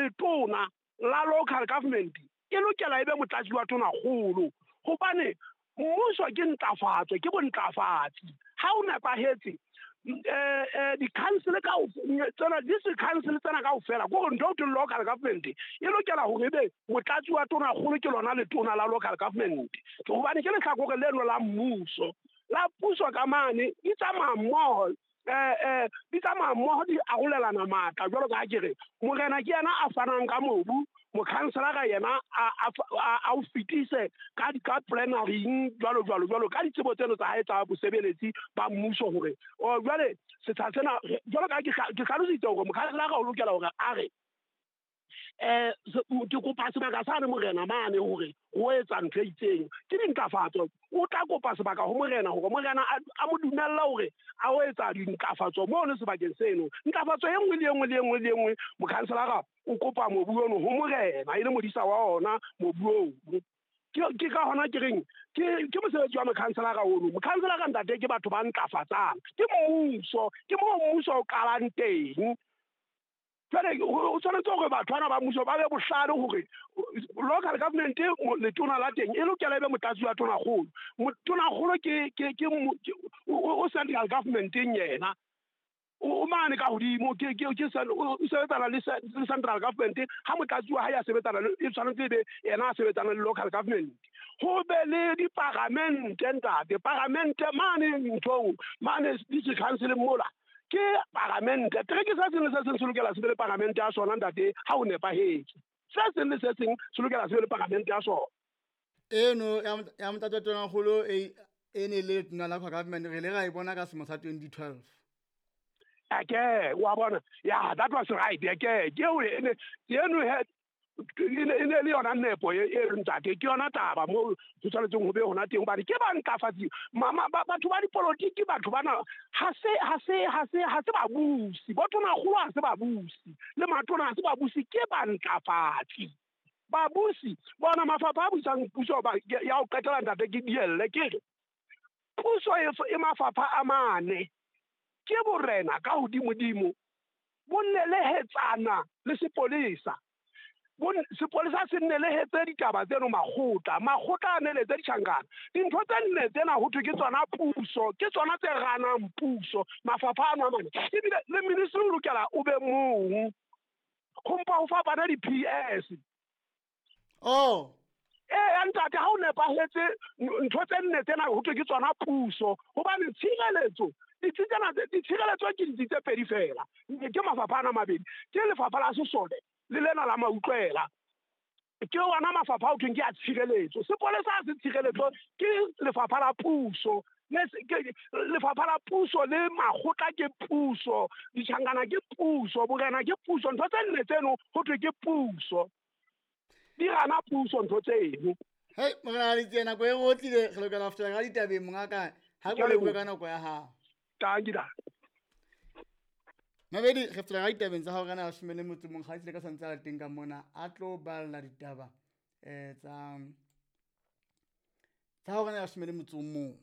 Letona la local government e lokela e be motlatsi wa tonakgolo, hobane mmuso ke ntlafatso, ke bontlafatsi. Ha o nepahetse, di-council tsena, district council tsena kaofela, ke hore ntho eo thweng local government e lokela hore ebe motlatsi wa tonakgolo ke lona letona la local government, hobane ke lehlakore leno la mmuso la puso ka mane di tsamaya mmoho, di tsamaya mmoho, di arolelana matla. Jwalo ka ha ke re, morena ke yena a fanang ka mobu, mokhanselara yena a o fetise ka plenaryng, jwalo jwalo jwalo, ka ditsebo tseno tsa hae tsa bosebeletsi ba mmuso. Hore o jwale setsha sena, jwalo ka ke hlalositse hore mokhanselara o lokela hore a re, ke kopa sebaka sane morena mane hore ho etsa ntho e itseng, ke dintlafatso. O tla kopa sebaka ho morena hore morena a mo dumella hore a o etsa dintlafatso mono sebakeng seno. Ntlafatso e nngwe le e nngwe le e nngwe le e nngwe, mokhanselara o kopa mobu ono ho morena, e le modisa wa ona mobu oo. Ke ka hona ke reng ke mosebetsi wa mokhanselara ono. Mokhanselara ntate ke batho ba ntlafatsang, ke mmuso, ke moo mmuso o qalang teng. Jwale o tshwanetse hore batho bana ba mmuso ba be bohlale hore local government letona la teng e lokela e be motlatsi wa tonakgolo. Tonakgolo ke o central governmenteng, yena o mane ka hodimo, ke o sebetsana le central government. Ha motlatsi wa hae a sebetsana le, e tshwanetse ebe yena a sebetsana le local government. Ho be le diparamente ntate, paramente mane nthong mane district council mola ke paramente. Tereke se seng le se seng se lokela se be le paramente ya sona ntate, ha o nepahetse. Se seng le se seng se lokela se be le paramente ya sona. Eno ya motlatsi wa tonakgolo e ne le letona la government, re ile ra e bona ka selemo sa 2012. Ake wa bona, ya, that was right. Ake ke eo ene eno he e ne le yona nepo e re ntate, ke yona taba moo ho tshwanetseng ho be hona teng, hobane ke ba ntlafatsi. Batho ba dipolotiki, batho bana ha se babusi. Bo tonakgolo ha se babusi, le matona ha se babusi, ke ba ntlafatsi. Babusi bona mafapha a busang puso ba ya ho qetela ntate, ke dielle ke re puso e mafapha a mane, ke borena ka hodimodimo, bo nelehetsana le sepolesa. Sepolesa se nelehetse ditaba tseno makgotla, makgotla a neletse ditjhankana. Dintho tse nne tsena ho thwe ke tsona puso, ke tsona tse ranang puso, mafapha ano a mane. Ebile le ministry o lokela o be mong, ho mpa ho fapana di-P S. Oh. Ee, ntate, ha o nepahetse ntho tse nne tsena ho thwe ke tsona puso, hobane tshireletso, ditsi tsena tse, ditshireletso ke ditsi tse pedi fela, ke mafapha ana a mabedi, ke lefapha la sesole le lena la mautlwela. Ke ona mafapha ao thweng ke a tshireletso. Sepolesa ha se tshireletso, ke lefapha la puso. Le se, ke lefapha la puso le makgotla ke puso, ditjhankana ke puso, borena ke puso. Ntho tse nne tseno ho thwe ke puso, di rana puso ntho tseno. Hei, morena Letsie, nako e re otlile, re lokela ho fetela ka ditabeng mongaka. Ha ke Ke a leboha leboha. ka nako ya hao. Tanki da. Mabedi, re fetela ka ditabeng tsa hao ka nako leshome le motso mong, ga ka santse a le teng ka mona, a tlo balla ditaba, tsa hore na leshome le motso o mong.